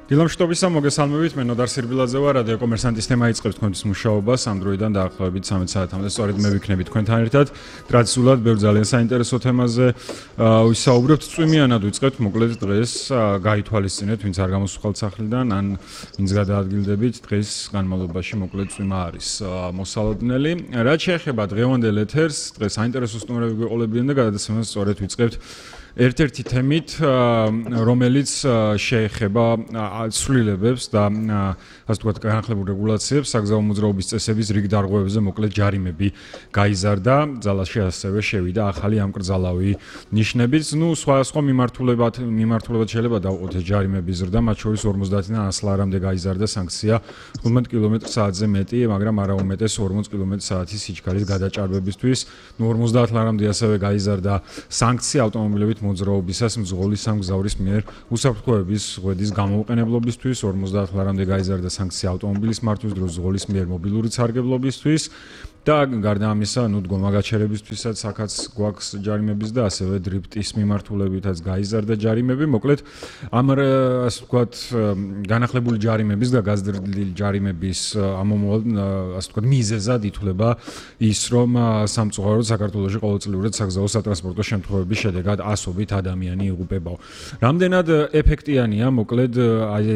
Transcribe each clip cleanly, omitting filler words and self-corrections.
დილამშვიდობისა, მოგესალმებით, მე ნოდარ სირბილაძე ვარ, რადიო კომერსანტის თემა იწყებს თქვენთვის მუშაობას ამ დროიდან დაახლოებით 13 საათამდე. სწორედ მე ვიქნები თქვენთან ერთად. ტრადიციულად ბევრ ძალიან საინტერესო თემაზე ვისაუბრებთ. წვიმიანად ვიწყებთ, მოკლედ დღეს გაითვალისწინეთ, ვინც არ გამოსუხალთ სახლიდან, ან ვინც გადაადგილდებით, დღეს განმავლობაში მოკლედ წვიმა არის მოსალოდნელი. რაც შეეხება დღევანდელ ეთერს, დღეს საინტერესო სტუმრები გვეყოლებიან და გადაცემას სწორედ ვიწყებთ ერთ-ერთი თემით, რომელიც შეეხება ცვლილებებს და ასე ვთქვათ, განახლებულ რეგულაციებს, საგზაო მოძრაობის წესების რიგ დარღვევებზე მოკლედ ჯარიმები გაიზარდა, ძალაში ასევე შევიდა ახალი ამკრძალავი ნიშნებით. სხვა მიმართულებად შეიძლება დავყოთ ეს ჯარიმების ზრდა, მათ შორის 50-დან 100 ლარამდე გაიზარდა სანქცია 15 კმ/სთ-ზე მეტი, მაგრამ არა უმეტეს 40 კმ/სთ-ის სიჩქარის გადაჭარბებისთვის. 50 ლარამდე ასევე გაიზარდა სანქცია ავტომობილებით მოძრაობისას მძღოლის სამგზავრის მიერ უსაფრთხოების ღვედის გამოუყენებლობისთვის, 50 ლარამდე გაიზარდა სანქცია ავტომობილის მართვის დროს მძღოლის მიერ მობილური სარგებლობისთვის და გარდა ამისა, დგომა გაჩერებისთვისაც აქაც გვაქვს ჯარიმების და ასევე დრიფტის მიმართულებითაც გაიზარდა ჯარიმები. მოკლედ, ამ ასე ვთქვათ, განახლებული ჯარიმების და გაზრდილი ჯარიმების ამომავალ ასე ვთქვათ, მიზეზად ითვლება ის, რომ სამწუხაროდ საქართველოში ყოველწლიურად საგზაო სატრანსპორტო შემთხვევების შედეგად ასობით ადამიანი იღუპებაო. რამდენად ეფექტიანია, მოკლედ,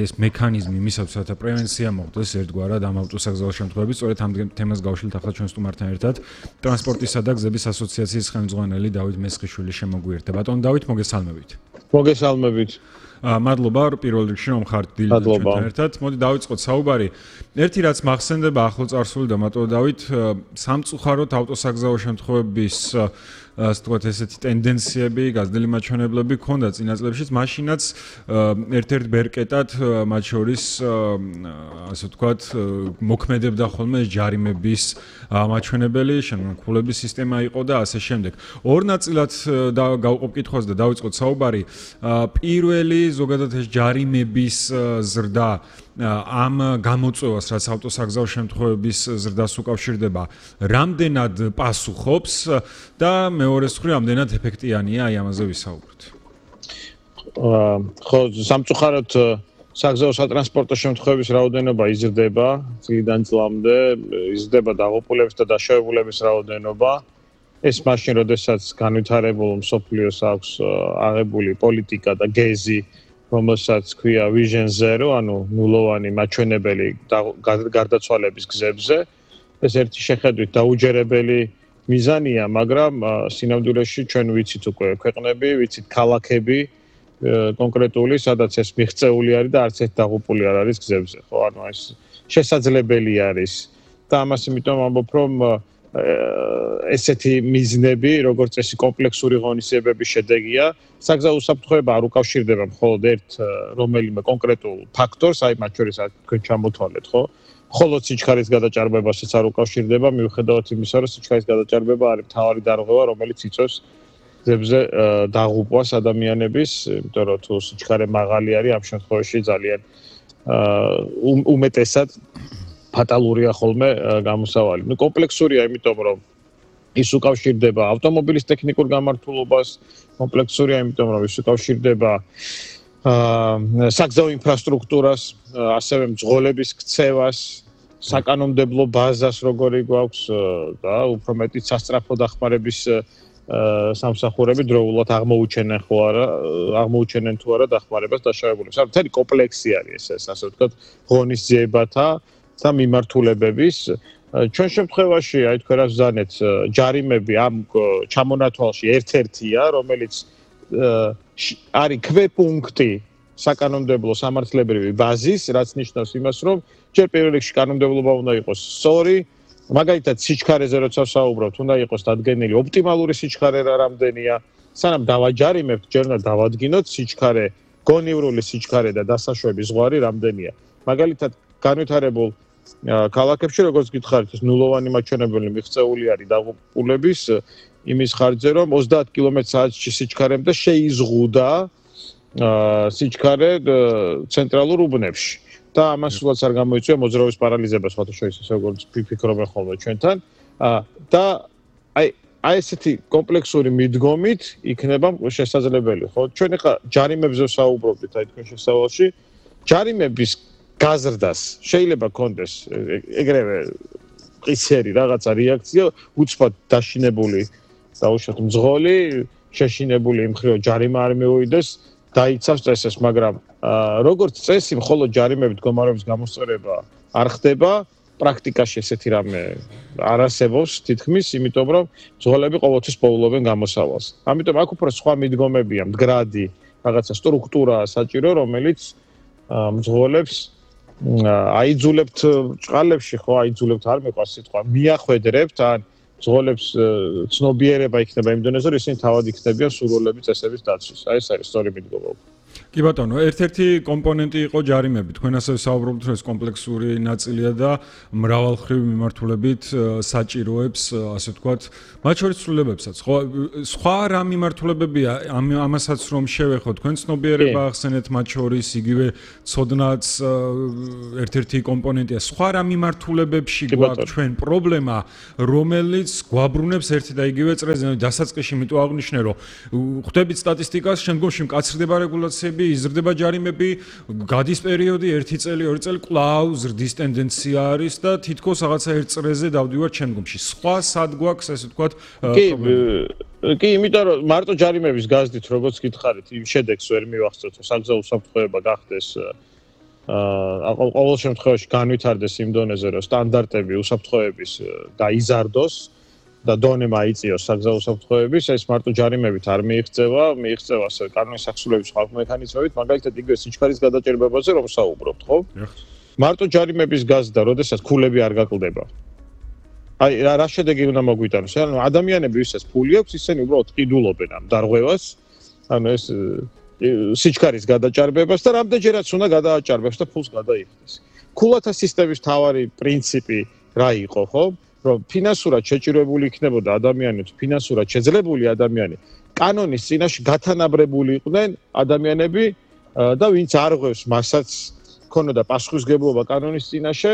ეს მექანიზმი მისაცათა პრევენცია მოხდეს ერთგვარად ამ ავტოსაგზაო შემთხვევების, სწორედ ამ თემას გავშლით ახლა ჩვენ სტუმართან ერთად ტრანსპორტისა და გზების ასოციაციის ხელმძღვანელი დავით მესხიშვილი შემოგვიერთდა. ბატონო დავით, მოგესალმებით. მოგესალმებით. მადლობა პირველ რიგში რომ ხართ დილით ჩვენთან ერთად. მოდი დავიწყოთ საუბარი. ერთი რაც მახსენდება ახლო წარსული და მარტო დავით, სამწუხაროდ ავტოსაგზაო შემთხვევების ასე ვთქვათ, ესეთი ტენდენციები, გაზრდილი მაჩვენებლები ქონდა წინა წლებშიც, მაშინაც ერთ-ერთ ბერკეტად მათ შორის ასე ვთქვათ, მოქმედებდა ხოლმე ჯარიმების მაჩვენებელი, შემოქმედების სისტემა იყო და ასე შემდეგ. ორ ნაწილად გავყობ კითხვას და დავიწყოთ საუბარი. პირველი ზოგადად ეს ჯარიმების ზრდა ამ გამოწვევას, რაც ავტოსაგზაო შემთხვევების ზრდას უკავშირდება, რამდენად პასუხობს და მეორე მხრივ რამდენად ეფექტიანია აი ამაზე ვისაუბროთ. ხო, სამწუხაროდ საგზაო სატრანსპორტო შემთხვევების რაოდენობა იზრდება წლიდან წლამდე, იზრდება დაღუპულების და დაშავებულების რაოდენობა. ეს მაშინ, როდესაც განვითარებულ მსოფლიოს აქვს აღებული პოლიტიკა და გეზი, რომელსაც ქვია Vision Zero, ანუ ნულოვანი მაჩვენებელი გარდაცვალების გზებზე. ეს ერთი შეხედვით დაუჯერებელი მიზანია, მაგრამ სინამდვილეში ჩვენ ვიცით უკვე ქვეყნები, ვიცით ქალაქები კონკრეტული, სადაც ეს მიღწეული არის და არც ერთ დაღუპული არ არის გზებზე, ხო? ანუ ეს შესაძლებელი არის. და ამას იმიტომ ამბობ, რომ ესეთი მიზნები, როგორც წესი კომპლექსური ღონისძიებების შედეგია, საგზაო უსაფრთხოება არ უკავშირდება მხოლოდ ერთ რომელიმე კონკრეტულ ფაქტორს, აი მათ შორის თქვენ ჩამოთვალეთ, ხო? მხოლოდ სიჩქარის გადაჭარბებასაც არ უკავშირდება, მიუხედავად იმისა, რომ სიჩქარის გადაჭარბება არის მთავარი დარღვევა, რომელიც იწვევს გზებზე დაღუპვას ადამიანების, იმიტომ რომ თუ სიჩქარე მაღალი არის, ამ შემთხვევაში ძალიან უმეტესად ფატალურია ხოლმე გამოსავალი. კომპლექსურია, იმიტომ რომ ის უკავშირდება ავტომობილის ტექნიკურ გამართულობას, კომპლექსურია, იმიტომ რომ ის უკავშირდება საგზაო ინფრასტრუქტურას, ასევე მძღოლების ქცევას, საკანონმდებლო ბაზას, როგორი გვაქვს და უფრო მეტიც სასწრაფო დახმარების სამსახურები დროულად აღმოუჩენენ თუ არა დახმარებას დაშავებულებს. ანუ მთელი კომპლექსი არის ეს, ასე ვთქვათ, ღონისძიებათა და მიმართულებების. ჩვენ შემთხვევაში, აი თქვენ რაც ვზანეთ, ჯარიმები ამ ჩამონათვალში ერთ-ერთია, რომელიც არის ქვეპუნქტი საკანონმდებლო სამართლებრივი ბაზის, რაც ნიშნავს იმას, რომ ჯერ პირველ რიგში კანონმდებლობა უნდა იყოს სწორი, მაგალითად სიჩქარეზე როცა ვსაუბრობთ, უნდა იყოს დადგენილი ოპტიმალური სიჩქარე რა რამდენია, სანამ დავაჯარიმებთ, ჯერ უნდა დავადგინოთ სიჩქარე, გონივრული სიჩქარე და დასაშვების ზღვარი რამდენია. მაგალითად, განვითარებულ ქალაქებში, როგორც გითხარით, ეს ნულოვანი მაჩვენებელი მიღწეული არის დაღუპულების იმის ხარჯზე, რომ 30 კმ/სთ-ში სიჩქარემდე შეიზღუდა სიჩქარე ცენტრალურ უბნებში. და ამას სულაც არ გამოიწვია მოძრაობის პარალიზებას, სხვათა შორის ისე როგორც ფიქრობენ ხოლმე ჩვენთან. და აი ესეთი კომპლექსური მიდგომით იქნება შესაძლებელი, ხო? ჩვენ ახლა ჯარიმებზე ვსაუბრობთ, აი თქვენ შესავალში ჯარიმების გაზრდას შეიძლება კონდეს ეგრევე ყისერი რაღაცა რეაქცია, უცბად დაშინებული დაუშვათ მძღოლი, შეშინებული იმ ხრივ ჯარიმა არ მეუვიდეს, დაიცავს წესს, მაგრამ როგორც წესი, მხოლოდ ჯარიმებით მდგომარეობის გამოსწორება არ ხდება, პრაქტიკაში ესეთი რამე არ არსებობს თითქმის, იმიტომ რომ მძღოლები ყოველთვის პოულობენ გამოსავალს. ამიტომ აქ უფრო სხვა მიდგომებია, მდგრადი, რაღაცა სტრუქტურა საჭირო, რომელიც მძღოლებს აიძულებთ ჭყალებში, ხო, აიძულებთ არ მეყვარს სიტყვა, მიახვედრებთ ან მძღოლებს ცნობიერება იქნება იმ დონეზე, რომ ისინი თავად იქნებიან სურვილების წესების დაცვის. აი ეს არის სწორი მიდგომა. კი ბატონო, ერთ-ერთი კომპონენტი იყო ჯარიმები. თქვენ ასევე საუბრობთ, რომ ეს კომპლექსური ნაწილია და მრავალმხრივი მიმართულებით საჭიროებს, ასე ვთქვათ, მათ შორის ცვლილებებსაც. ხო, სხვა რა მიმართულებებია ამასაც რომ შევეხოთ, თქვენ ცნობიერება ახსენეთ მათ შორის, იგივე ცოდნაც ერთ-ერთი კომპონენტია. სხვა რა მიმართულებებში გვაქვს ჩვენ პრობლემა, რომელიც გვაბრუნებს ერთი და იგივე წრეზე, დასაწყისში მიტო აღნიშნე, რომ ხვდებით სტატისტიკას, შემდგომში მკაცრდება რეგულაციები, იზრდება ჯარიმები, გადის პერიოდი 1 წელი, 2 წელი, კვლავ ზრდის ტენდენცია არის და თითქოს რაღაცა ერთ წრეზე დავდივართ შემდგომში. სხვა სად გვაქვს, ასე ვთქვათ, პრობლემა? კი, იმიტომ რომ მარტო ჯარიმების გაზდით, როგორც გითხარით, იმ შედეგს ვერ მივახცევთ, რომ საგზაო უსაფრთხოება გახდეს ყოველ შემთხვევაში განვითარდეს იმ დონეზე, რომ სტანდარტები უსაფრთხოების დაიზარდოს და დონე მაიწიოს საგზაო უსაფრთხოების, ეს მარტო ჯარიმებით არ მიიღწევა, მიიღწევა ასე კანონის აღსრულების სხვა მექანიზმებით, მაგალითად იგივე სიჩქარის გადაჭერბებაზე რომ საუბრობთ, ხო? მარტო ჯარიმების გაზრდა, როდესაც ქულები არ გაკლდება. აი, რა შედეგი უნდა მოგვიტანოს? ანუ ადამიანები, ვისაც ფული აქვს, ისინი უბრალოდ ყიდულობენ ამ დარღვევას, ანუ ეს სიჩქარის გადაჭარბებას და რამდენჯერაც უნდა გადააჭარბებს და ფულს გადაიხდეს. ქულათა სისტემის მთავარი პრინციპი რა იყო, ხო? რომ ფინანსურად შეჭირებული იქნებოდა ადამიანი, ფინანსურად შეძლებული ადამიანი, კანონის წინაშე გათანაბრებული იყვნენ ადამიანები და ვინც არ ღვევს მასაც ქონოდა პასუხისმგებლობა კანონის წინაშე,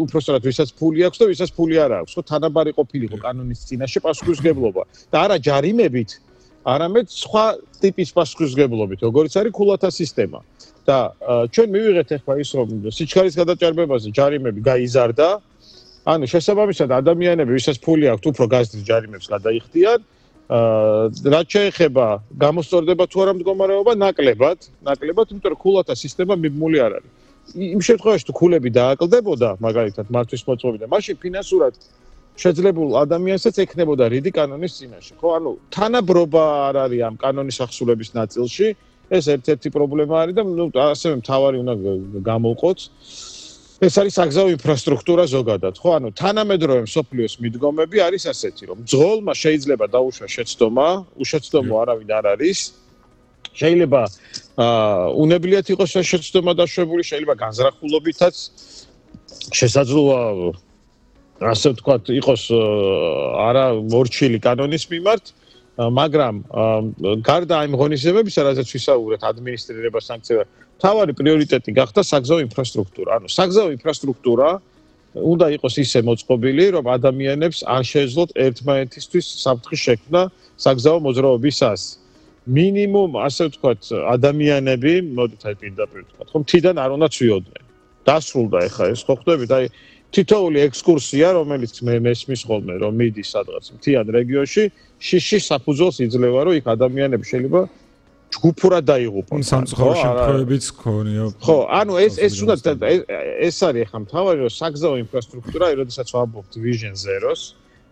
უпростоრად ვისაც ფული აქვს და ვისაც ფული არ აქვს, ხო, თანაბარი ყოფილიყო კანონის წინაშე პასუხისმგებლობა და არა ჯარიმებით, არამედ სხვა ტიპის პასუხისმგებლობით, როგორც არის ქულათა სისტემა. და ჩვენ მივიღეთ ახლა ის რომ სიჩქარის გადაჭარბებაზე ჯარიმები გაიზარდა, ანუ შესაბამისად ადამიანები, ვისაც ფული აქვს, უფრო გაზრდილ ჯარიმებს გადაიხდიან. რაც შეეხება გამოსწორდება თუ არა მდგომარეობა, ნაკლებად, იმიტომ რომ ქულათა სისტემა მიბმული არ არის. იმ შემთხვევაში თუ ქულები დააკლდებოდა, მაგალითად, მართვის მოწყობიდან, მაშინ ფინანსურად შეძლებულ ადამიანსაც ექნებოდა რიდი კანონის წინაშე, ხო? ანუ თანაბრობა არ არის ამ კანონის აღსრულების ნაწილში, ეს ერთ-ერთი პრობლემა არის და ასევე მთავარი უნდა გამოვყოთ. ეს არის საგზაო ინფრასტრუქტურა ზოგადად, ხო? ანუ თანამედროვე მსოფლიოს მიდგომები არის ასეთი, რომ მძღოლმა შეიძლება დაუშვა შეცდომა, უშეცდომო არავინ არ არის. შეიძლება უნებლიათ იყოს შეცდომა დაშვებული, შეიძლება განზრახულობითაც შესაძლოა ასე ვთქვათ, იყოს არა მორჩილი კანონის მიმართ, მაგრამ გარდა იმ ღონისძიებებისა, რაზეც ვისაუბრეთ, ადმინისტრირება, სანქცია, მთავარი პრიორიტეტი გახდა საგზაო ინფრასტრუქტურა. ანუ საგზაო ინფრასტრუქტურა უნდა იყოს ისე მოწყობილი, რომ ადამიანებს არ შეეძლოთ ერთმანეთისთვის საფრთხის შექმნა საგზაო მოძრაობისას. მინიმუმ, ასე ვთქვათ, ადამიანები, მოდით აი პირდაპირ ვთქვათ, ხო, მთიდან არ უნდა ცვიოდნენ. დასრულდა ეხა ეს, ხო ხვდებით, აი თითოეული ექსკურსია, რომელიც მესმის ხოლმე, რომ მიდის სადღაც მთიან რეგიონში, შიში საფუძველს იძლევა, რომ იქ ადამიანები შეიძლება ჯგუფურად დაიღუპონ. სამწუხარო შემთხვევებიც ქონია. ხო, ანუ ეს უნდა ეს არის ახლა მთავარი, რომ საგზაო ინფრასტრუქტურა, როდესაც ვამბობთ Vision 0-ს,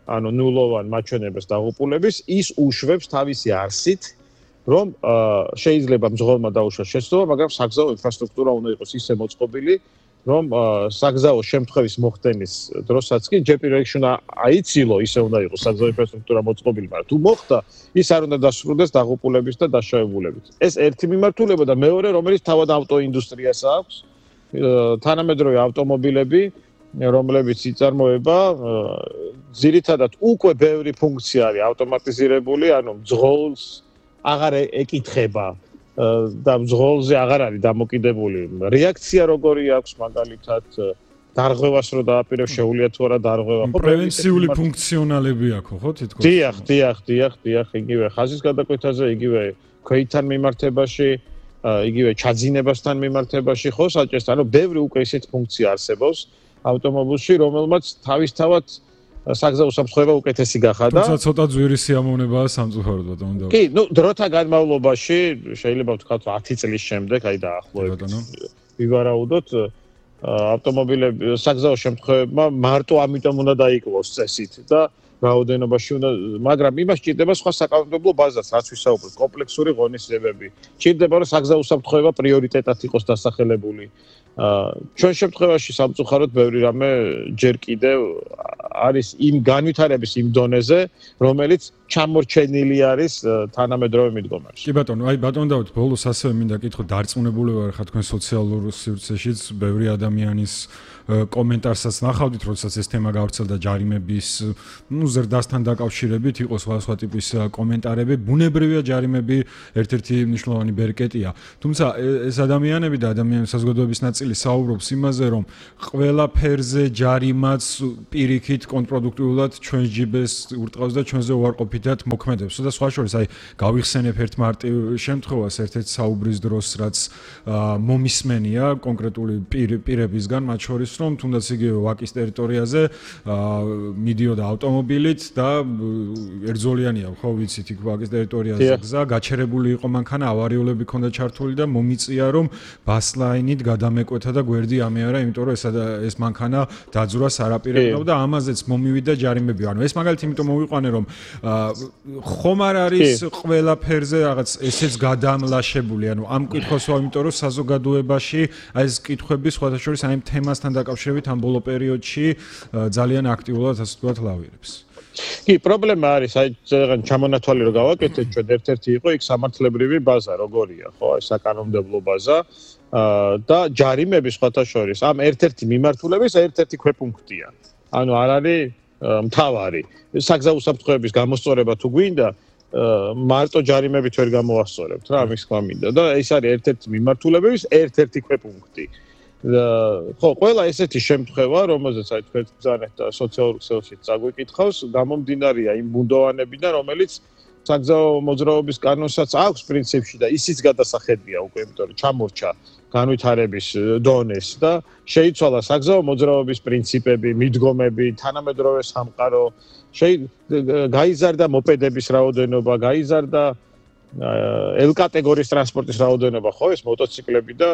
ანუ ნულოვან მაჩვენებელს დაღუპულების, ის უშვებს თავისი არსით, რომ შეიძლება მძღოლმა დაუშვას შეცდომა, მაგრამ საგზაო ინფრასტრუქტურა უნდა იყოს ისე მოწყობილი, რომ საგზაო შემთხვევის მოხდენის დროსაც კი ჯერ პირველ რიგში უნდა აიცილო, ისე უნდა იყოს საგზაო ინფრასტრუქტურა მოწყობილი, მაგრამ თუ მოხდა, ის არ უნდა დასრულდეს დაღუპულების და დაშავებულებით. ეს ერთი მიმართულება და მეორე, რომელიც თავად ავტოინდუსტრიას აქვს, თანამედროვე ავტომობილები, რომლებიც იწარმოება, ძირითადად უკვე ბევრი ფუნქცია არის ავტომატიზირებული, ანუ მძღოლს აღარ ეკითხება და მძღოლზე აღარ არის დამოკიდებული რეაქცია როგორი აქვს მაგალითად დარღვევას რო დააპირებს შეუძლია თუ არა დარღვევა ხო პრევენციული ფუნქციონალები აქვს ხო თითქოს დიახ იგივე ხაზის გადაკვეთაზე იგივე ქვეითთან მიმართებაში იგივე ჩაძინებასთან მიმართებაში ხო საჭესთან, ანუ ბევრი უკვე ისეთ ფუნქცია არსებობს ავტომობილში, რომელმაც თავისთავად საგზაო უსაფრთხოება უკეთესი გახადა. თუმცა ცოტა ძვირი სიამოვნებაა სამწუხაროდ ბატონო. კი, დროთა განმავლობაში შეიძლება ვთქვათ 10 წლის შემდეგ, აი დაახლოებით ვივარაუდოთ ავტომობილები საგზაო შემთხვევებმა მარტო ამიტომ უნდა დაიკლოს წესით და რაოდენობაში უნდა, მაგრამ იმას ჭირდება სხვა საკანონმდებლო ბაზას, რაც ვისაუბრეთ, კომპლექსური ღონისძიებები. ჭირდება რომ საგზაო უსაფრთხოება პრიორიტეტად იყოს დასახელებული. ჩვენ შემთხვევაში სამწუხაროდ ბევრი რამე ჯერ კიდევ არის იმ განვითარების იმ დონეზე, რომელიც ჩამორჩენილი არის თანამედროვე მიდგომებში. კი ბატონო, აი ბატონო დავით, ბოლოს ასევე მინდა კითხო, დარწმუნებული ვარ ხა თქვენ სოციალურ სივრცეშიც ბევრი ადამიანის კომენტარსაც ნახავდით, როდესაც ეს თემა გავრცელდა ჯარიმების, ზრდასთან დაკავშირებით, იყო სხვა ტიპის კომენტარები. ბუნებრივია ჯარიმები ერთ-ერთი მნიშვნელოვანი ბერკეტია. თუმცა ეს ადამიანები და ადამიანების საზოგადოების ნაწილი საუბრობს იმაზე, რომ ყველა ფერზე ჯარიმაც პირიქით კონტრპროდუქტიულად ჩვენს ჯიბეს ურტყავს და ჩვენზე უარყოფითად მოქმედებს. და სხვა შორის, აი გავიხსენებ ერთ მარტივ შემთხვევას, ერთ-ერთ საუბრის დროს, რაც მომისმენია კონკრეტული პირებისგან, მათ შორის რომ თუნდაც იგივე ვაკის ტერიტორიაზე მიდიოდა ავტომობილით და ერთზოლიანია, ხო ვიცით, იქ ვაკის ტერიტორიაზე გზა, გაჩერებული იყო მანქანა, ავარიულები ჰქონდა ჩართული და მომიწია რომ ბასლაინით გადამეკვეთა და გვერდი ამეარა, იმიტომ რომ ეს მანქანა დაძვრა სარაპირებდა და ამაზეც მომივიდა ჯარიმები. ანუ ეს მაგალითი იმიტომ მოვიყვანე რომ ხომ არ არის ყველა ფერზე რაღაც ესეც გადამლაშებული, ანუ ამ კითხვას ვარ, იმიტომ რომ საზოგადოებაში აი ეს კითხვები სხვათა შორის აი ამ თემასთან დაკავშირებით ამ ბოლო პერიოდში ძალიან აქტიურად ასე ვთქვათ ლავირებს. კი, პრობლემა არის, აი ზოგადად ჩამონათვალი რო გავაკეთეთ, ჩვენ ერთ-ერთი იყო იქ სამართლებრივი ბაზა, როგორია, ხო, აი საკანონმდებლო ბაზა და ჯარიმები სხვათა შორის ამ ერთ-ერთი მიმართულების ერთ-ერთი ქვეპუნქტია. ანუ არ არის მთავარი. საგზაო უსაფრთხოების გამოსწორება თუ გვინდა, მარტო ჯარიმებით ვერ გამოვასწორებთ რა, ამის თქვა მინდა და ეს არის ერთ-ერთი მიმართულების ერთ-ერთი ქვეპუნქტი. ხო, ყველა ესეთი შემთხვევა, რომელზეც აი თქვენ ბრძანეთ და სოციალურ ქსელში წაგვიკითხავს, გამომდინარეა იმ ბუნდოვანებიდან, რომელიც საგზაო მოძრაობის კანონსაც აქვს პრინციპში და ისიც გადასახედია უკვე, იმიტომ რომ ჩამორჩა განვითარების დონეს და შეიცვალა საგზაო მოძრაობის პრინციპები, მიდგომები, თანამედროვე სამყარო, გაიზარდა მოპედების რაოდენობა, გაიზარდა L კატეგორიის ტრანსპორტის რაოდენობა, ხო, ეს მოტოციკლები და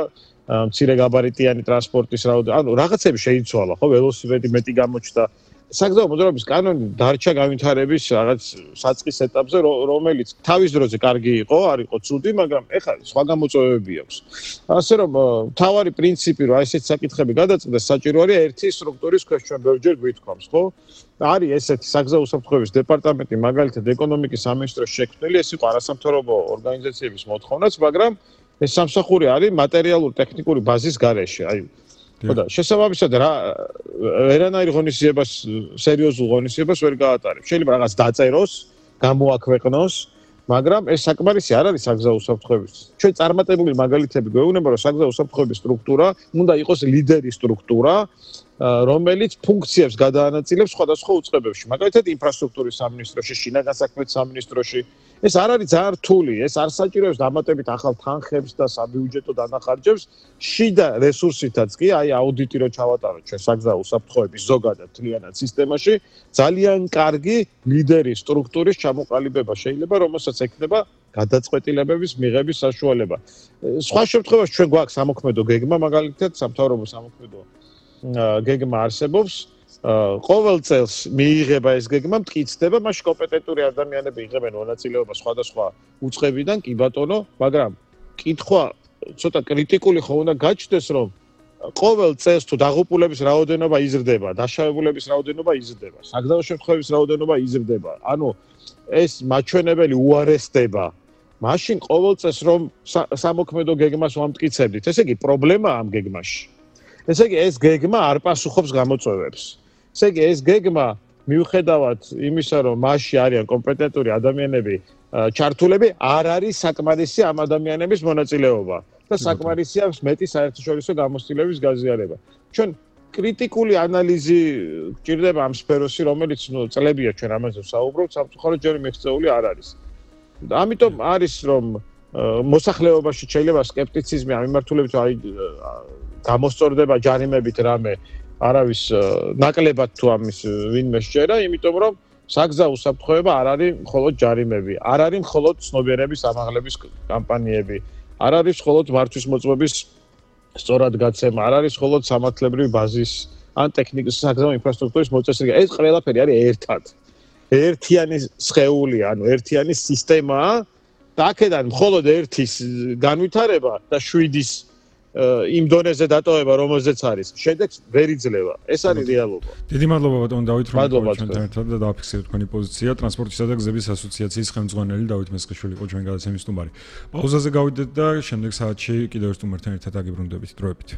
მცირე გაბარიტიანი ტრანსპორტის რაოდენობა, ანუ რაღაცები შეიცვალა, ხო, ველოსიპედი მეტი გამოჩნდა. საგზაო მოძრაობის კანონი დარჩა განვითარების რაღაც საწყის ეტაპზე, რომელიც თავის დროზე კარგი იყო, არ იყო ცუდი, მაგრამ ეხლა სხვა გამოწვევები აქვს. ასე რომ მთავარი პრინციპი, რომ აი ესეთი საკითხები გადაწყდეს, საჭირო არის ერთი სტრუქტურის ქვეშ ჩვენ ბევრჯერ გვითხოვს, ხო? არის ესეთი საგზაო უსაფრთხოების დეპარტამენტი, მაგალითად ეკონომიკის სამინისტროს შექმნილი, ეს იყო არასამთავრობო ორგანიზაციების მოთხოვნაც, მაგრამ ეს სამსახური არის მატერიალურ-ტექნიკური ბაზის გარეშე, აი ხო და შესაბამისად რა ვერანაირ ღონისძიებას, სერიოზულ ღონისძიებას ვერ გაატარებს. შეიძლება რაღაც დაწეროს, გამოაქვეყნოს, მაგრამ ეს საკმარისი არ არის საგზაო უსაფრთხოების. ჩვენ წარმატებული მაგალითები გვეუბნება, რომ საგზაო უსაფრთხოების სტრუქტურა უნდა იყოს ლიდერი სტრუქტურა, რომელიც ფუნქციებს გადაანაწილებს სხვადასხვა უწყებებში. მაგალითად, ინფრასტრუქტურის სამინისტროში, შინაგან საქმეთა სამინისტროში. ეს არ არის ძალიან რთული, ეს არ საჭიროებს დამატებით ახალ თანხებს და საბიუჯეტო დანახარჯებს, შიდა რესურსითაც კი, აი აუდიტი რო ჩავატაროთ ჩვენ საგზაო უსაფრთხოების ზოგადად მთლიანად სისტემაში, ძალიან კარგი ლიდერი სტრუქტურის ჩამოყალიბება შეიძლება, რომელსაც ექნება გადაწყვეტილებების მიღების საშუალება. სხვა შემთხვევაში ჩვენ გვაქვს სამოქმედო გეგმა, მაგალითად, სამთავრობო სამოქმედო გეგმა არსებობს. ყოველ წელს მიიღება ეს გეგმა, მტკიცდება, მაშინ კომპეტენტური ადამიანები იღებენ მონაწილეობას სხვადასხვა უწყებიდან, კი ბატონო, მაგრამ კითხვა ცოტა კრიტიკული ხო უნდა გაჩნდეს, რომ ყოველ წელს თუ დაღუპულების რაოდენობა იზრდება, დაშავებულების რაოდენობა იზრდება, საგზაო შემთხვევების რაოდენობა იზრდება. ანუ ეს მაჩვენებელი უარესდება. მაშინ ყოველ წელს რომ სამოქმედო გეგმას ვამტკიცებდით, ესე იგი პრობლემაა ამ გეგმაში. ესე იგი ეს გეგმა არ პასუხობს გამოწვევებს. ესე იგი ეს გეგმა მიუხედავად იმისა, რომ მასში არიან კომპეტენტური ადამიანები ჩართულები, არ არის საკმარისი ამ ადამიანების მონაწილეობა და საკმარისია მეტი საერთაშორისო გამოცდილების გაზიარება. ჩვენ კრიტიკული ანალიზი გჭირდება ამ სფეროში, რომელიც წლებია ჩვენ ამაზე ვსაუბრობთ, სამწუხაროდ ჯერ მიღწეული არ არის. ამიტომ არის რომ მოსახლეობაში შეიძლება სკეპტიციზმი ამ მიმართულებით აი გამოსწორდება ჯარიმებით რამე არავის ნაკლებად თუ ამის ვინმე შეერა, იმიტომ რომ საგზაო უსაფრთხოება არ არის მხოლოდ ჯარიმები, არ არის მხოლოდ ცნობიერების ამაღლების კამპანიები, არ არის მხოლოდ მართვის მოწმობის სწორად გაცემა, არ არის მხოლოდ სამართლებრივი ბაზის ან ტექნიკის საგზაო ინფრასტრუქტურის მოწესრიგება. ეს ყველაფერი არის ერთად. ერთიანი სხეული, ანუ ერთიანი სისტემაა და აქედან მხოლოდ ერთის განვითარება და 7-ის იმ დონეზე დატოვება, რომელზეც არის, შედეგს ვერ იძლევა. ეს არის რეალობა. დიდი მადლობა ბატონო დავით, რომ ჩვენთან ერთად და დააფიქსირეთ თქვენი პოზიცია. ტრანსპორტისა და გზების ასოციაციის ხელმძღვანელი დავით მესხიშვილი იყო ჩვენ გადაცემის სტუმარი. პაუზაზე გავიდეთ და შემდეგ საათში კიდევ ერთ სტუმართან ერთად აგიბრუნდებით დროებით.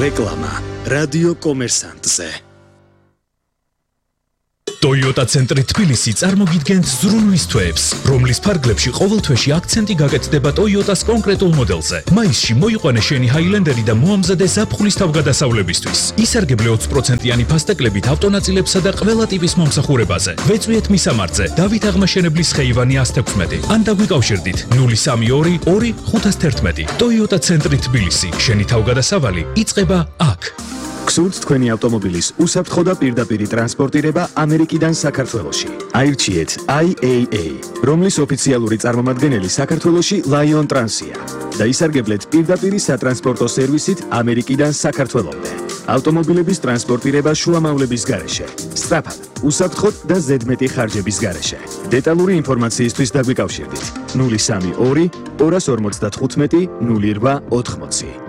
რეკლამა რადიო კომერსანტზე. Toyota ცენტრი თბილისი წარმოგიდგენთ ზრუნვის თვეებს, რომლის ფარგლებში ყოველ თვეში აქცენტი გაკეთდება Toyota-ს კონკრეტულ მოდელზე. მაისში მოიყვანე შენი Highlander და მოამზადე ზაფხულის თავგადასავლებისთვის. ისარგებლე 20%-იანი ფასტეკლებით ავტონაწილებსა და ყველა ტიპის მომსახურებაზე. ვეწვიეთ მისამართზე დავით აღმაშენებლის ხეივანი 116. ან დაგვიკავშირდით 032 2 511. Toyota ცენტრი თბილისი. შენი თავგადასავალი იწყება აქ. გსურთ თქვენი ავტომობილის უსაფრთხო და პირდაპირი ტრანსპორტირება ამერიკიდან საქართველოში. აირჩიეთ IAA, რომლის ოფიციალური წარმომადგენელი საქართველოში Lion Trans-ია და ისარგებლეთ პირდაპირი სატრანსპორტო სერვისით ამერიკიდან საქართველომდე. ავტომობილების ტრანსპორტირება შუამავლების გარეშე, სწრაფად, უსაფრთხოდ და ზედმეტი ხარჯების გარეშე. დეტალური ინფორმაციისთვის დაგვიკავშირდით 032 255 0880.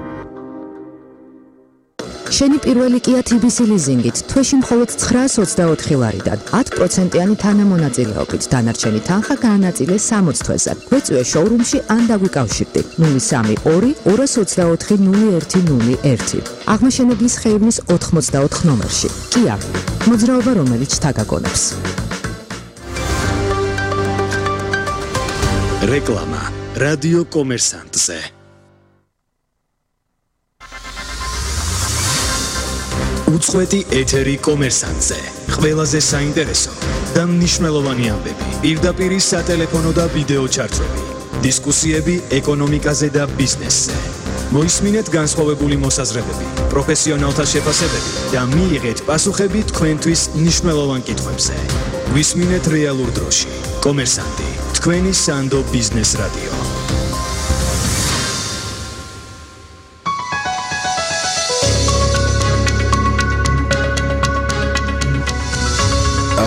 შენი პირველი Kia TBC ლიზინგით თვეში მხოლოდ 924 ლარიდან 10%-იანი თანამონაწილეობით დანარჩენი თანხა გაანაწილე 60 თვეზე. გვეწვიე შოურუმში ან დაგვიკავშირდი 032 224 0101. აღმაშენებლის ხეივნის 84 ნომერში. Kia, მოძრაობა რომელიც თაგაგონებს. რეკლამა რადიო კომერსანტზე. უწყვეტი ეთერი კომერსანტზე. ყველაზე საინტერესო და მნიშვნელოვანი ამბები. პირდაპირი სატელეფონო და ვიდეო ჩარტვები. დისკუსიები ეკონომიკაზე და ბიზნესზე. მოისმინეთ განსხვავებული მოსაზრებები, პროფესიონალთა შეფასებები და მიიღეთ პასუხები თქვენთვის მნიშვნელოვან კითხვებზე. გვისმინეთ რეალურ დროში. კომერსანტი, თქვენი სანდო ბიზნეს რადიო.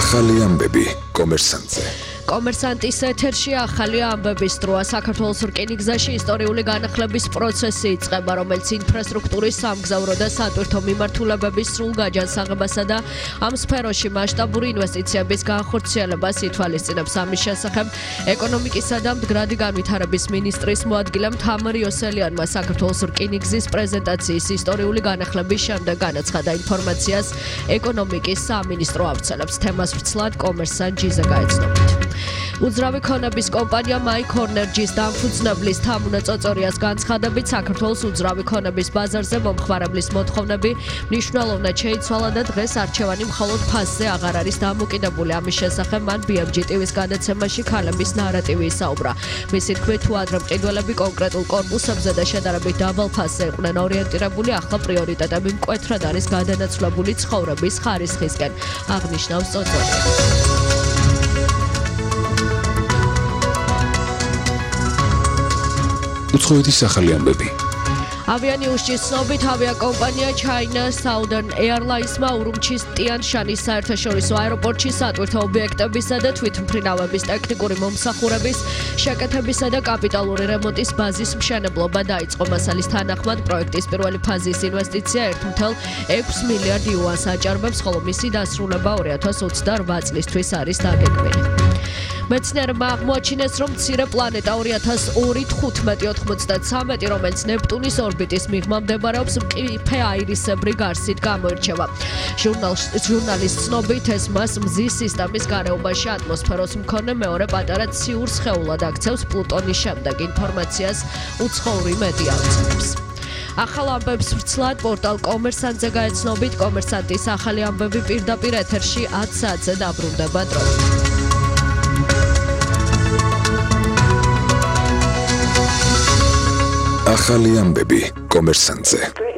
ახალი ამბები კომერსანტზე. კომერსანტის ეთერში ახალი ამბების დროა. საქართველოს რკინიგზაში ისტორიული განახლების პროცესი იწყება, რომელიც ინფრასტრუქტურის სამგზავრო და სატვირთო მიმართულებების სრულ გაჯანსაღებასა და ამ სფეროში მასშტაბური ინვესტიციების განხორციელებას ითვალისწინებს. ამის შესახებ ეკონომიკისა და მდგრადი განვითარების მინისტრის მოადგილემ თამარ იოსელიანმა საქართველოს რკინიგზის პრეზენტაციის ისტორიული განახლების შემდეგ განაცხადა. ინფორმაციას ეკონომიკის სამინისტრო ავრცელებს. თემას ვრცლად კომერსანტ ჯიზა გაეცნობით. უძრავი ქონების კომპანია My Corner-ს დამფუძნებლის თამუნა წოწორიას განცხადებით საქართველოს უძრავი ქონების ბაზარზე მომხმარებლის მოთხოვნები მნიშვნელოვნად შეიცვალა და დღეს არჩევანი მხოლოდ ფასზე აღარ არის დამოკიდებული. ამის შესახებ მან BMG TV-ს გადაცემაში ქალების ნარატივი ისაუბრა. მისი თქმით, თუ ადრე მყიდველები კონკრეტულ კორპუსებზე და შედარებით დაბალ ფასზე იყვნენ ორიენტირებული, ახლა პრიორიტეტები მკვეთრად არის გადანაცვლებული ცხოვრების ხარისხისკენ, აღნიშნავს წოწორია. უცხოეთის ახალი ამბები. ავიანიუსის ცნობით ავიაკომპანია China Southern Airlines-მა ურუმჩის ტიან-შანის საერთაშორისო აეროპორტში სატვირთო ობიექტებისა და თვითმფრინავების ტექნიკური მომსახურების შეკეთებისა და კაპიტალური რემონტის ბაზის მშენებლობა დაიწყო. მასალის თანახმად პროექტის პირველი ფაზის ინვესტიცია 1.6 მილიარდ იუანს აჭარბებს, ხოლო მისი დასრულება 2028 წლისთვის არის დაგეგმილი. მეცნიერებმა აღმოაჩინეს, რომ მცირე პლანეტა 2015-15-93, რომელიც ნეპტუნის ორბიტის მიღმა მდებარეობს, მყიფე აირისებრი გარსით გამოირჩევა. ჟურნალის ცნობით, ეს მას მზის სისტემის გარეუბანში ატმოსფეროს მქონე მეორე პატარა ციურ სხეულად აქცევს. პლუტონის შემდეგ ინფორმაციას უცხოური მედია ავრცელებს. ახალ ამბებს ვრცლად პორტალ კომერსანტზე გაეცნობით, კომერსანტის ახალი ამბები პირდაპირ ეთერში 10 საათზე დაბრუნდება დრო. ახალი ამბები კომერსანტზე.